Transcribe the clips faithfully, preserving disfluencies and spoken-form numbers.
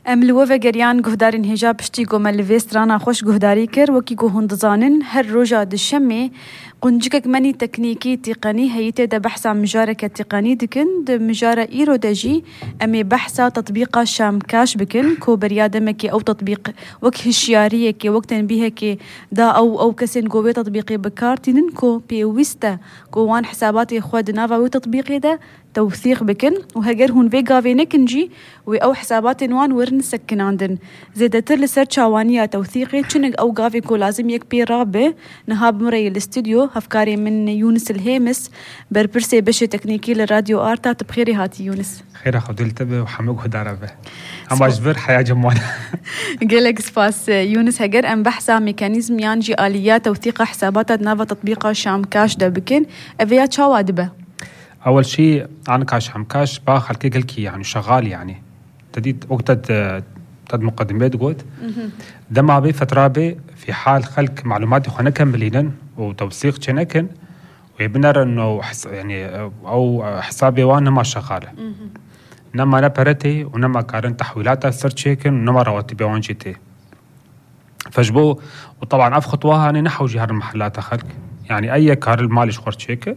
ام الوفا گریان گهدارین هجا پشتی گو ملویسترانا خوش گهداری کر وکی گو هندزانن هر روژا دشمه قنجكك مني تكنيكي تقني هيتي دا بحثا مجاركة تقني دكن دا مجارة إيرو داجي أمي بحثا تطبيقا شامكاش بكن كو بريادمكي أو تطبيق وك هشيارية كي وقت بيها كي دا أو أو كسين قوي تطبيقي بكارتين كو بيويستا كو وان حساباتي خواد نافا وي تطبيقي دا توثيق بكن وهجر هون فيجا في نكنجي وي أو حسابات وان ورن سكن عندن زيدا تر سيرش عوانية توثيقي تشنق أو قافي كو لازم يكبي رابع نهاب مري الاستوديو هفكاري من يونس الهيمس بربرسي بشي تكنيكي للراديو آرتا تبخيري هاتي يونس خير أخو دلتبه وحموك هداربه أما أجبر حياة جموانا قلق سباس يونس هجر أم بحثا ميكانيزم يانجي آليات توثيق حسابات نافا تطبيقا شام كاش دا بكن أفيات شاوادبه أول شيء أنا كاش عم كاش باخل كي قلكي يعني شغال يعني تديت وقت تد مقدمات قد ده ما بي فترة بي في حال خلق معلومات خنا كملينا وتوثيق شنكن ويبنر إنه حس يعني أو حسابي وأنا ما شغالة نما نبرتي ونما كارن تحويلاتها صرت شيكن ونما رواتبي وان جيتي فجبو وطبعا أف خطوها أنا نحو جهار المحلات خلق يعني أي كار المالي شخور شيكه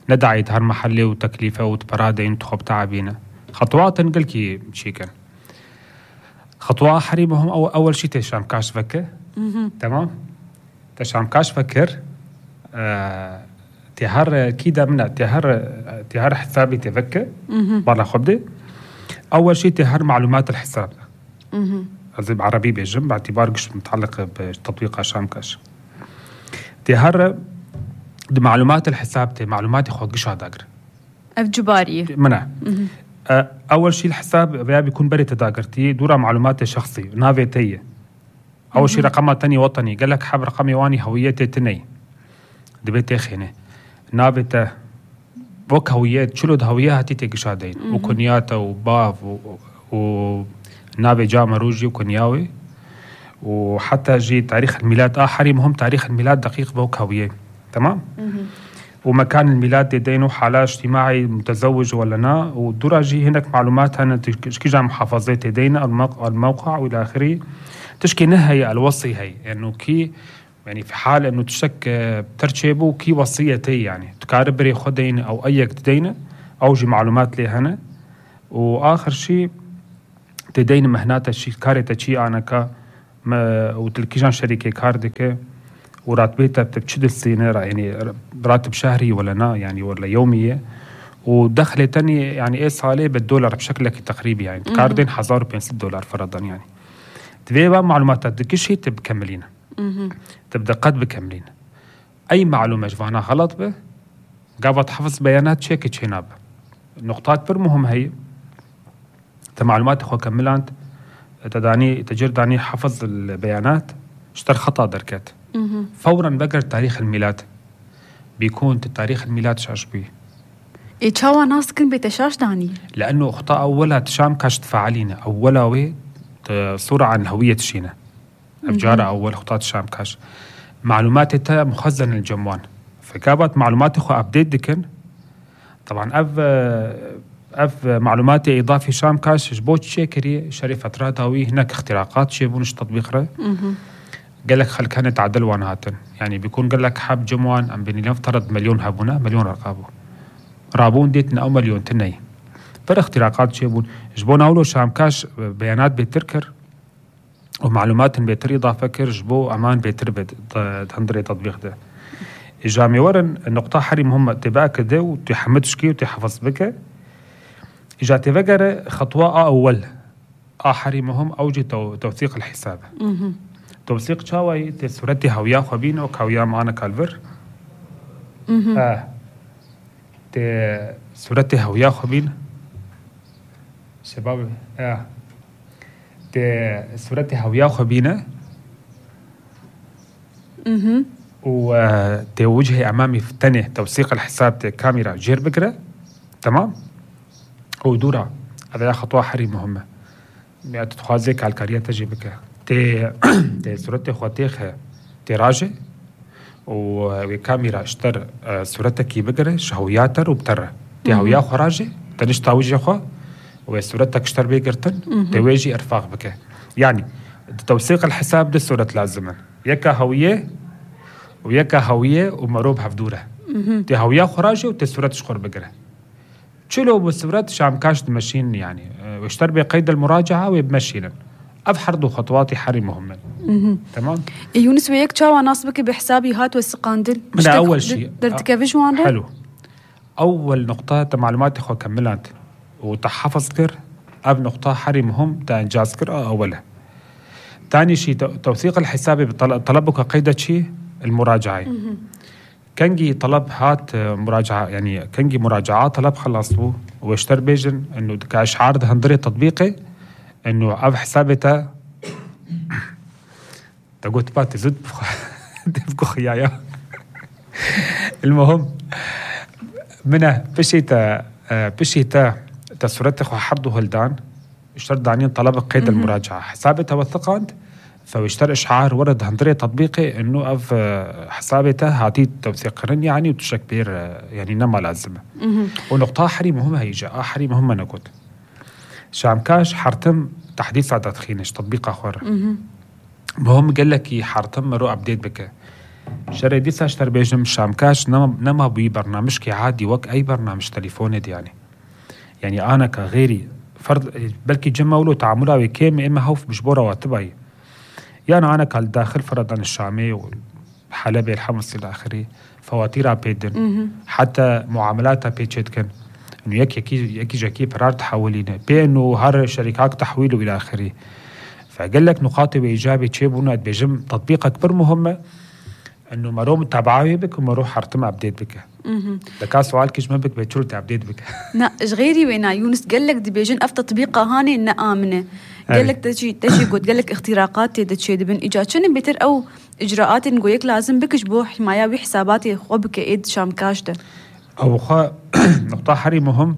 ندعي هر محلي وتكلفة وتبرادين تخب تعبينه خطوات نقلكي شيكن خطوة حريمهم أو أول شيء تشام كاش فكر تمام تشام كاش فكر آه تهر كيدا منا تهر تهر حسابي تفكر برا خبدي أول شيء تهر معلومات الحساب هذا بعربي بيجم باعتبار قش متعلق بتطبيق شام كاش تهر دي معلومات الحساب تي معلومات يخوض قش هداقر أفجبارية منع أه أول شيء الحساب بيا بيكون بري تداقرتي دورة معلومات شخصي نافيتية أول شيء رقمات تاني وطني قال لك حاب رقمي واني هويتي تني دي بيتي خيني نافيته بوك هويات شلود هوية هاتي تيقش هدين وكنياته وباف و نافي جامع روجي وكنياوي وحتى جي تاريخ الميلاد آخري مهم تاريخ الميلاد دقيق بوك هوية تمام ومكان الميلاد دينه حالة اجتماعي متزوج ولا نا ودرجي هناك معلومات هنا تشكي جا محافظات دينا الموقع, الموقع والى اخره تشكي نهي الوصي هي انه يعني كي يعني في حال انه تشك بترتشبه كي وصيتي يعني تقارب بري خدين او ايك دينا او جي معلومات لي هنا واخر شيء تدين مهنات الشيء كارته شيء انا كا وتلكيجان شركه كاردك وراتبيتها بتشد السنة يعني راتب شهري ولا نا يعني ولا يومية ودخله تاني يعني إيه صالة بالدولار بشكل تقريبي يعني كاردين حزار بين ست دولار فرضا يعني تبي بقى معلومات كل شيء تبكملين تبدأ قد بكملين أي معلومة جوانا غلط به قابت حفظ بيانات شيك تشيناب نقطات برمهم هي تمعلومات أخو كملانت تداني تجر داني حفظ البيانات اشتر خطأ دركات فورا بقر تاريخ الميلاد بيكون تاريخ الميلاد شاش بيه إيه تشاوى ناس كن بيتشاش داني لأنه أخطاء أولا تشام كاش تفعلينا أولا وي صورة عن الهوية تشينا أفجارة أول أخطاء تشام كاش معلومات تا مخزن الجموان فكابت معلومات أخو أبديت دكن طبعا أف أف معلومات إضافي شام كاش جبوت شيكري شريفة راداوي هناك اختراقات شيبونش تطبيق رأي قال لك خل كانت عدل وانهاتن يعني بيكون قال لك حاب جموان أم بني نفترض مليون هابونا مليون رقابو رابون ديتنا أو مليون تني فر اختراقات شيبون جبون أولو شام كاش بيانات بيتركر ومعلومات بيتر إضافة كر جبو أمان بيتر بتهندري تطبيق ده إجامي ورن النقطة حري مهمة تبقى كده وتحمدش كي وتحفظ بك إجا تفجر خطوة أول آخري مهم أوجي توثيق الحساب توثيق شاوي تسورتي هويا خبين أو هويا معنا كالفر آه تسورتي هويا خبين شباب آه تسورتي هويا خبينة اها وتوجهي أمامي في تاني توثيق الحساب كاميرا جير بكرة تمام ودورة هذا خطوة حري مهمة يعني تتخاذك على الكارية تجي بك تي تي صورتي خواتيخ تي راجع وكاميرا اشتر صورتك يبقر شهوياتر وبتر تي هويا خراجة تنش تاوجي خو وصورتك اشتر بيقرتن تواجي ارفاق بك يعني توثيق الحساب دي الصورة لازمة يكا هوية ويكا هوية ومروب هفدورة تي هوية خراجة وتي صورة شخور بقرة تشيلو بالصورات شام كاش تمشين يعني واشتر بقيد المراجعة ويبمشينا أبحرضوا خطواتي حري مهمة تمام يونس وياك تشاوى ناصبك بحسابي هات والسقاندل من أول شيء درتك فيجوان حلو أول نقطة معلومات إخوة كملات وتحفظ كر أب نقطة حري مهم تأنجاز كر أولا تاني شيء توثيق الحساب بطلبك قيدة شيء المراجعة كنجي طلب هات مراجعة يعني كنجي مراجعة طلب خلصوا واشتر بيجن إنه كأشعار ده هندري تطبيقي إنه أب حسابته تقول باتي زد بكو خيايا المهم منه بشيتا بشيتا تصورتك وحرضه هلدان اشتر دانين طلب قيد المراجعة حسابته وثقاند فويشتر إشعار ورد هندري تطبيقي إنه أف حسابته هاتي توثيقرن يعني وتشكبير يعني نما لازمة ونقطة حري مهمة هي جاء حري مهمة نقول شام كاش حرتم تحديث عدد تدخينش تطبيق آخر مهم قال لك حرتم مرو أبديت بك شري ديسا اشتر بيجم شام كاش نما نما بي برنامج كي عادي وك أي برنامج تليفوني دي يعني يعني أنا كغيري فرض بلكي جمولو تعاملها وكيم إما هوف بجبورة واتبعي يعني أنا كالداخل فرضاً الشامي والحلبي الحمص إلى آخره فواتيرها بيدن حتى معاملاتها بيتشتكن إنه يك يكي يكي جاكي برار تحولينه بأنه هر شركات تحويله إلى آخره فقال لك نقاط وإيجابي تشيبونا بيجم تطبيق أكبر مهمة إنه مرو متابعة بك ومرو حرتم أبديت بك دكا سؤال كيش ما بك بيتشرو تأبديت بك نا غيري وينا يونس قال لك دي بيجن أف تطبيقها هاني إن آمنة قال لك تجي تجي قلت قال لك اختراقات تدشي دبن إجا شنو بيتر أو إجراءات نقولك لازم بكش بو حماية وحساباتي خو بك إيد شام كاش ده أو خا نقطة حري مهم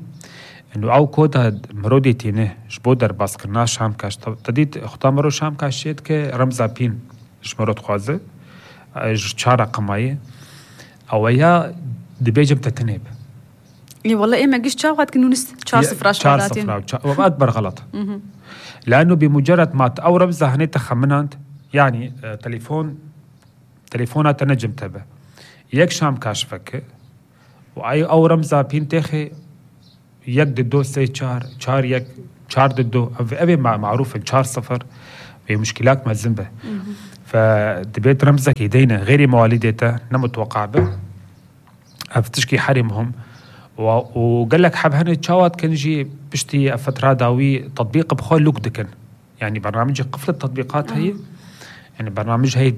إنه أو كود مرودي تينه جبو در باس كرنا شام كاش تديت اختار مرو شام كاش شيد كرمزا بين جمرود خوازه جشارة قماية أو يا دبيجم تتنيب إيه والله إيه ما جيش شاوات كنونس شار صفراش شار صفراش وأكبر غلط لأنه بمجرد ما أو رمزة هني تخمنانت يعني آه تليفون تليفونات نجم تبع يك شام كاشفك وأي أو رمزة بين تخي يك ددو سي شار شار يك شار ددو أبي معروف الشار صفر في مشكلات ما الزنبه فدبيت رمزك يدينا غير مواليدته نمتوقع به أفتشكي حرمهم وقال لك حب هني تشاوات كنجي بشتي فترة داوي تطبيق بخول لوك دكن يعني برنامج قفل التطبيقات هي يعني برنامج هيد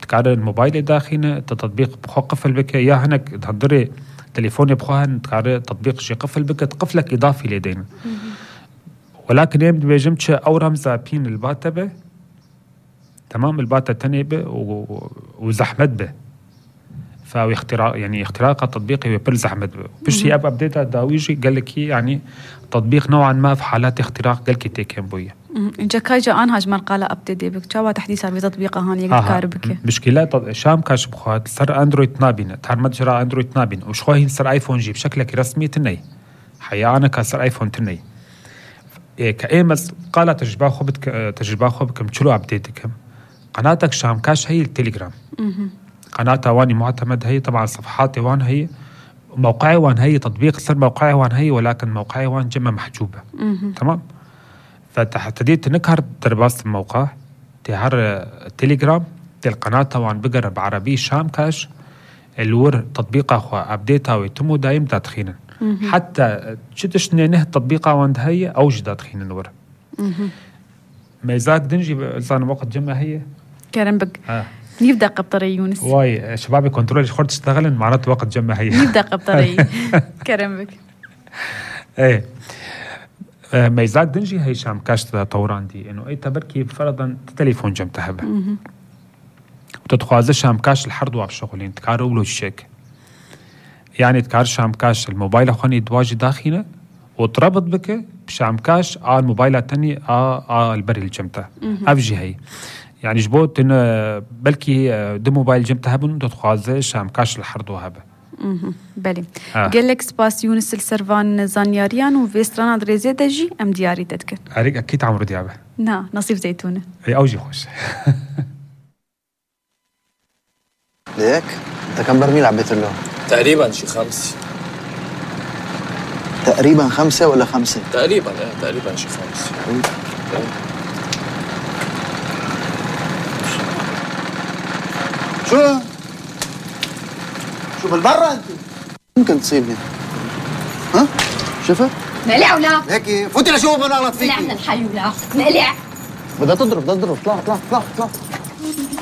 تكاد الموبايل داخلنا تطبيق بخو قفل بك يا هنك تهدري تليفوني بخوهن تكاد تطبيق شي قفل بك تقفلك إضافي لدينا ولكن يوم بيجمتش أو رمزة بين الباتبة تمام الباتا تنبه وزحمت به فهو اختراق يعني اختراق التطبيق يبل زحمت به بش هي ابديتها داويجي قال لك يعني تطبيق نوعا ما في حالات اختراق قال لك تيكن بويا انت كاجا ان هاج مرقاله ابديت بك جوا تحديث على تطبيق هاني يقدر بك مشكله شام كاش بخوات صار اندرويد نابين تعال متجرى اندرويد نابين وشخوين صار ايفون جيب شكلك رسمي تني حيا انا كسر ايفون تني كايمس قال تجربه خبت تجربه خبكم شلو ابديتكم قناتك شام كاش هي التليجرام قناة واني معتمد هي طبعا صفحاتي وان هي موقعي وان هي تطبيق صار موقعي وان هي ولكن موقعي وان جمع محجوبة تمام فتحتديت نكهر درباس الموقع تهر التليجرام تل قناة وان بقر بعربي شام كاش الور تطبيقه خو ابديتها ويتمو دايم تدخينا حتى شتش نه تطبيقه وان هي اوجد تدخينا الور ميزاك دنجي لسان وقت جمع هي كرم بك آه. يبدأ قبطري يونس واي شبابي كنترول خرج تشتغل معناته وقت جمع هي يبدأ قبطري كرم بك ايه آه ميزاك دنجي هي شام كاش طوران دي انه اي تبركي فرضا تليفون جمتها به وتتخواز شام كاش الحرد وعب شغلين تكارو ولو الشيك يعني تكار شام كاش الموبايل اخواني دواجي داخلنا وتربط بك بشام كاش على الموبايل الثاني على البري الجمتة أفجي هي يعني جبوت إن بلكي دي موبايل جمتة هبن تتخواز شام كاش الحرد وهبه اها بلي آه. قال لك سباس يونس السرفان زانياريان وفيسترانا دريزي دجي ام دياري تذكر اريك اكيد عمرو ديابه نا نصيف زيتونه اي اوجي خوش. ليك انت كم برميل عبيت له؟ تقريبا شي خمس. تقريبا خمسة ولا خمسة؟ تقريبا ايه تقريبا شي خمس. شو؟ شو بالبرة انت؟ ممكن تصيبني. ها؟ شفت؟ مقلع ولا؟ هيك فوتي لشوف ما نغلط فيكي. نعمل الحي ولا؟ مقلع. بدها تضرب بدها تضرب اطلع اطلع اطلع اطلع